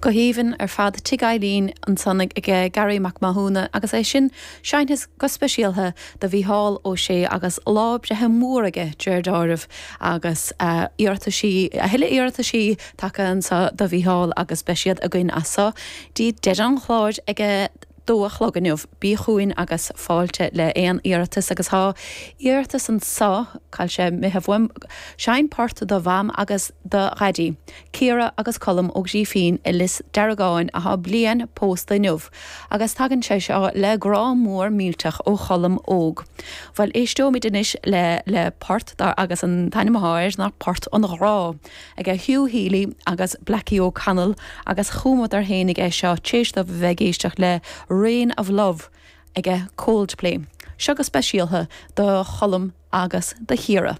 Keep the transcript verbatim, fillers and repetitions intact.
Go haoibhinn ar fad Tigh Eileen ansan ag Garry Mac Mathúna agus é sin seinnte go speisialtha do Mhícheál Ó Sé agus lá breithe mór aige deir dealramh agus uh, iarrataisí a thuilleadh iarrataisí tagtha anso do Mhícheál agus beidh siad againn anso dtí deireadh an chláir ag a dó a chlog inniu bí chugainn agus fáilte le aon iarratas agus tá iarratas anso cá sé mithe bhfuim seinn port do mham agus do dhaidí. Ciara agus Colm Ó Grífín i Lios Deargáin atá bliain pósta inniu, agus tagann sé seo le grá mór millteach ó Cholm óg. Well éisteoimid anois le le port dar agus an t-ainm atá air ná Port an Ghrá ag Hugh Healy agus Blackie O'Connell agus chumadar féinig é seo tar éis dóibh bheith ag éisteacht le Rain of Love ag Coldplay. Seo go speisialtha do Cholm agus do Chiara.